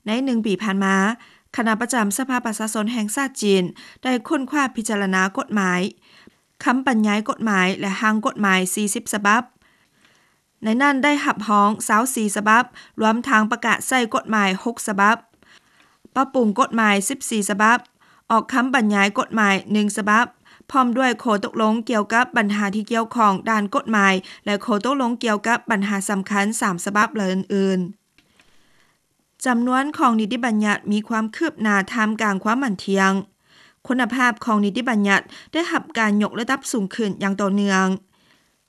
ໃນໜຶ່ງປີຜ່ານມາ, ຄະນະປະຈຳສະພາປະຊາຊົນແຫ່ງຊາດຈີນ ໄດ້ຄົ້ນຄວ້າພິຈາລະນາກົດໝາຍ, ຄຳບັນຍາຍກົດໝາຍ ແລະ ຮ່າງກົດໝາຍສີ່ສິບສະບັບ. ໃນນັ້ນໄດ້ຮັບຮອງຊາວສີ່ສະບັບ, ລວມທັງປະກາດໃຊ້ກົດໝາຍຫົກສະບັບ, ປັບປຸງກົດໝາຍສິບສີ່ສະບັບ, ອອກຄຳບັນຍາຍກົດໝາຍໜຶ່ງສະບັບ, ພ້ອມດ້ວຍຂໍ້ຕົກລົງກ່ຽວກັບບັນຫາທີ່ກ່ຽວຂ້ອງດ້ານກົດໝາຍ ແລະ ຂໍ້ຕົກລົງກ່ຽວກັບບັນຫາສຳຄັນສາມສະບັບ ແລະ ອື່ນໆ. ຈຳນວນຂອງນິຕິບັນຍັດມີຄວາມຄືບໜ້າທ່າມກາງຄວາມໝັ້ນທ່ຽງ. ຄຸນນະພາບຂອງນິຕິບັນຍັດໄດ້ຮັບການຍົກລະດັບສູງຂຶ້ນຢ່າງຕໍ່ເນື່ອງ,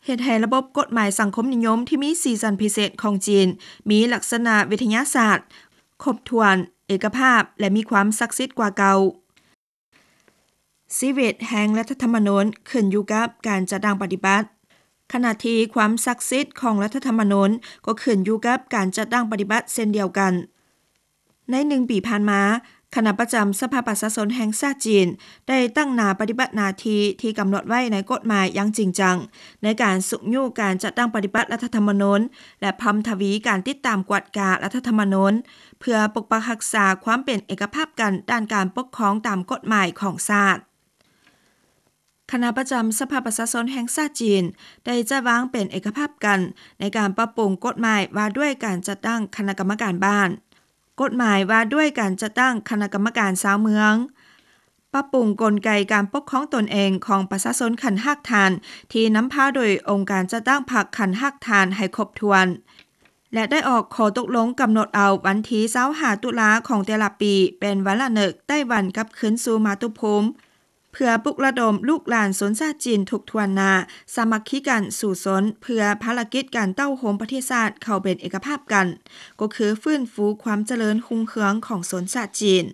ເຮັດໃຫ້ລະບົບກົດໝາຍສັງຄົມນິຍົມທີ່ມີສີສັນພິເສດຂອງຈີນ ມີລັກສະນະວິທະຍາສາດ, ຄົບຖ້ວນ, ເອກະພາບ ແລະ ມີຄວາມສັກສິດກວ່າເກົ່າ. ຊີວິດແຫ່ງລັດຖະທຳມະນູນຂຶ້ນຢູ່ກັບການຈັດຕັ້ງປະຕິບັດ, ຂະນະທີ່ຄວາມສັກສິດຂອງລັດຖະທຳມະນູນກໍຂຶ້ນຢູ່ກັບການຈັດຕັ້ງປະຕິບັດເຊັ່ນດຽວກັນ. ໃນໜຶ່ງປີຜ່ານມາ, ຄະນະປະຈຳສະພາປະຊາຊົນແຫ່ງຊາດຈີນ ໄດ້ຕັ້ງໜ້າປະຕິບັດໜ້າທີ່ທີ່ກຳນົດໄວ້ໃນກົດໝາຍຢ່າງຈິງຈັງ ໃນການຊຸກຍູ້ການຈັດຕັ້ງປະຕິບັດລັດຖະທຳມະນູນ ແລະ ເພີ່ມທະວີການຕິດຕາມກວດກາລັດຖະທຳມະນູນ ເພື່ອປົກປັກຮັກສາຄວາມເປັນເອກະພາບກັນດ້ານການປົກຄອງຕາມກົດໝາຍຂອງຊາດ. ຄະນະປະຈຳສະພາປະຊາຊົນແຫ່ງຊາດຈີນ ໄດ້ຈັດວາງເປັນເອກະພາບກັນໃນການປັບປຸງກົດໝາຍວ່າດ້ວຍການຈັດຕັ້ງຄະນະກຳມະການບ້ານ, ກົດໝາຍວ່າດ້ວຍການຈັດຕັ້ງຄະນະກຳມະການຊາວເມືອງ, ປັບປຸງກົນໄກການປົກຄອງຕົນເອງຂອງປະຊາຊົນຂັ້ນຮາກຖານ ທີ່ນຳພາໂດຍອົງການຈັດຕັ້ງພັກຂັ້ນຮາກຖານໃຫ້ຄົບຖ້ວນ ແລະ ໄດ້ອອກຂໍ້ຕົກລົງກຳນົດເອົາວັນທີຊາວຫ້າຕຸລາຂອງແຕ່ລະປີ ເປັນວັນລະນຶກໄຕ້ຫວັນກັບຄືນສູ່ມາຕຸພູມ ເພື່ອປຸກລະດົມລູກຫຼານຊົນຊາດຈີນທຸກຖ້ວນໜ້າ ສາມັກຄີກັນສູ້ຊົນ ເພື່ອພາລະກິດການເຕົ້າໂຮມປະເທດຊາດເຂົ້າເປັນເອກະພາບກັນ, ກໍຄືຟື້ນຟູຄວາມຈະເລີນຮຸ່ງເຮືອງຂອງຊົນຊາດຈີນ.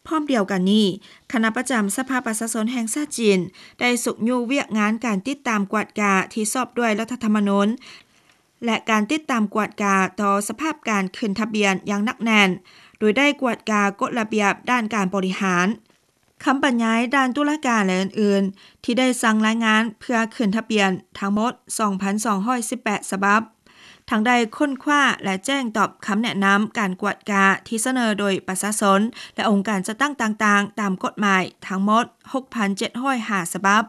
ພ້ອມດຽວກັນນີ້, ຄະນະປະຈຳສະພາປະຊາຊົນແຫ່ງຊາດຈີນ ໄດ້ຊຸກຍູ້ວຽກງານການຕິດຕາມກວດກາທີ່ຊອບດ້ວຍລັດຖະທຳມະນູນ ແລະ ການຕິດຕາມກວດກາຕໍ່ສະພາບການຂຶ້ນທະບຽນຢ່າງໜັກແໜ້ນ, ໂດຍໄດ້ກວດກາກົດລະບຽບດ້ານການບໍລິຫານ, ຄຳບັນຍາຍດ້ານຕຸລາການ ແລະ ອື່ນໆ ທີ່ໄດ້ສັ່ງລາຍງານເພື່ອຂຶ້ນທະບຽນທັງໝົດສອງພັນສອງຮ້ອຍສິບແປດສະບັບ, ທັງໄດ້ຄົ້ນຄວ້າ ແລະ ແຈ້ງຕອບຄຳແນະນຳການກວດກາທີ່ສະເໜີໂດຍປະຊາຊົນ ແລະ ອົງການຈັດຕັ້ງຕ່າງໆ ຕາມກົດໝາຍທັງໝົດຫົກພັນເຈັດຮ້ອຍຫ້າສະບັບ.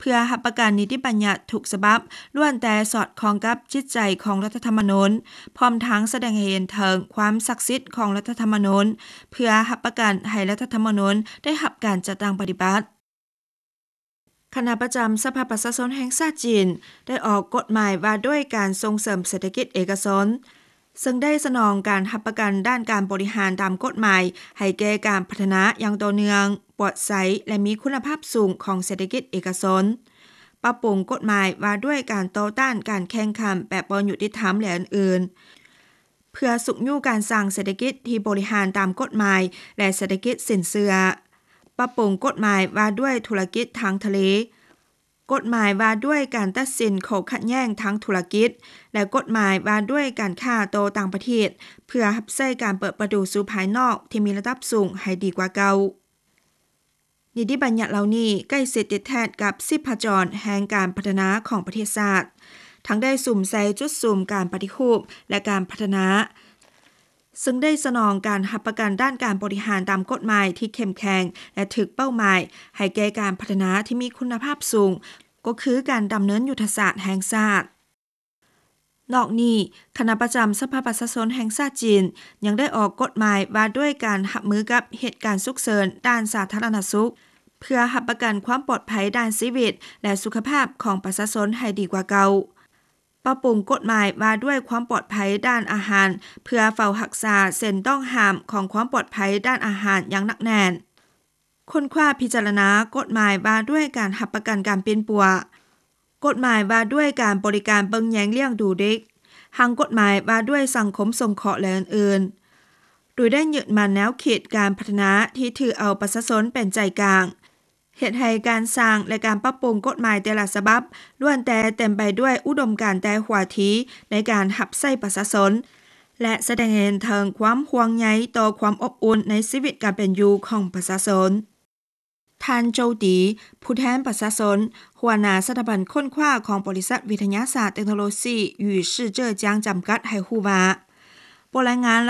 ເພື່ອຮັບປະກັນນິຕິບັນຍັດທຸກສະບັບລ້ວນແຕ່ສອດຄ່ອງກັບຈິດໃຈຂອງລັດຖະທຳມະນູນ, ພ້ອມທັງສະແດງໃຫ້ເຫັນເຖິງຄວາມສັກສິດຂອງລັດຖະທຳມະນູນ, ເພື່ອຮັບປະກັນໃຫ້ລັດຖະທຳມະນູນໄດ້ຮັບການຈັດຕັ້ງປະຕິບັດ. ຄະນະປະຈຳສະພາປະຊາຊົນແຫ່ງຊາດຈີນ ໄດ້ອອກກົດໝາຍວ່າດ້ວຍການສົ່ງເສີມເສດຖະກິດເອກະຊົນ, ເຊິ່ງໄດ້ສະໜອງການຮັບປະກັນດ້ານການບໍລິຫານຕາມກົດໝາຍໃຫ້ແກ່ການພັດທະນາຢ່າງຕໍ່ເນື່ອງ, ປອດໃສ ແລະ ມີຄຸນນະພາບສູງຂອງເສດຖະກິດເອກະຊົນ, ປັບປຸງກົດໝາຍວ່າດ້ວຍການຕໍ່ຕ້ານການແຂ່ງຂັນແບບບໍ່ຍຸຕິທຳ ແລະ ອື່ນໆ. ເພື່ອຊຸກຍູ້ການສ້າງເສດຖະກິດທີ່ບໍລິຫານຕາມກົດໝາຍ ແລະ ເສດຖະກິດສິນເຊື່ອ, ປັບປຸງກົດໝາຍວ່າດ້ວຍທຸລະກິດທາງທະເລ, ກົດໝາຍວ່າດ້ວຍການຕັດສິນຂໍ້ຂັດແຍ່ງທາງທຸລະກິດ ແລະ ກົດໝາຍວ່າດ້ວຍການຄ້າຕໍ່ຕ່າງປະເທດ ເພື່ອຮັບໃຊ້ການເປີດປະຕູສູ່ພາຍນອກທີ່ມີລະດັບສູງໃຫ້ດີກວ່າເກົ່າ. ນິຕິບັນຍັດເຫຼົ່ານີ້ໃກ້ຊິດຕິດແທດກັບຊີບພະຈອນແຫ່ງການພັດທະນາຂອງປະເທດຊາດ, ທັງໄດ້ສຸມໃສ່ຈຸດສຸມການປະຕິຮູບ ແລະ ການພັດທະນາ, ເຊິ່ງໄດ້ສະໜອງການຮັບປະກັນດ້ານການບໍລິຫານຕາມກົດໝາຍທີ່ເຂັ້ມແຂງ ແລະ ຖືກເປົ້າໝາຍໃຫ້ແກ່ການພັດທະນາທີ່ມີຄຸນນະພາບສູງ, ກໍຄືການດຳເນີນຍຸດທະສາດແຫ່ງຊາດ. ນອກນີ້, ຄະນະປະຈຳສະພາປະຊາຊົນແຫ່ງຊາດຈີນ ຍັງໄດ້ອອກກົດໝາຍວ່າດ້ວຍການຮັບມືກັບເຫດການສຸກເສີນດ້ານສາທາລະນະສຸກ, ເພື່ອຮັບປະກັນຄວາມປອດໄພດ້ານຊີວິດ ແລະ ສຸຂະພາບຂອງປະຊາຊົນໃຫ້ດີກວ່າເກົ່າ. ປັບປຸງກົດໝາຍວ່າດ້ວຍຄວາມປອດໄພດ້ານອາຫານ ເພື່ອເຝົ້າຮັກສາເສັ້ນຕ້ອງຫ້າມຂອງຄວາມປອດໄພດ້ານອາຫານຢ່າງໜັກແໜ້ນ. ຄົ້ນຄວ້າພິຈາລະນາກົດໝາຍວ່າດ້ວຍການຮັບປະກັນການປິ່ນປົວ, ກົດໝາຍວ່າດ້ວຍການບໍລິການເບິ່ງແຍງລ້ຽງດູເດັກ, ຮ່າງກົດໝາຍວ່າດ້ວຍສັງຄົມສົງເຄາະ ແລະ ອື່ນໆ, ໂດຍໄດ້ຍຶດໝັ້ນແນວຄິດການພັດທະນາທີ່ຖືເອົາປະຊາຊົນເປັນໃຈກາງ, ເຮັດໃຫ້ການສ້າງ ແລະ ການປັບປຸງກົດໝາຍແຕ່ລະສະບັບ ລ້ວນແຕ່ເຕັມໄປດ້ວຍອຸດົມການແຕ່ຫົວທີໃນການຮັບໃຊ້ປະຊາຊົນ ແລະ ສະແດງໃຫ້ເຫັນເຖິງຄວາມຫ່ວງໃຍຕໍ່ຄວາມອົບອຸ່ນໃນຊີວິດການເປັນຢູ່ຂອງປະຊາຊົນ. ທ່ານ ໂຈຕີ ຜູ້ແທນປະຊາຊົນ, ຫົວໜ້າສະຖາບັນຄົ້ນຄວ້າຂອງບໍລິສັດວິທະຍາສາດເຕັກໂນໂລຊີ ຫຢູຊິເຈີຈຽງ ຈຳກັດ ໃຫ້ຮູ້ວ່າ, ບົດລາຍງານລະ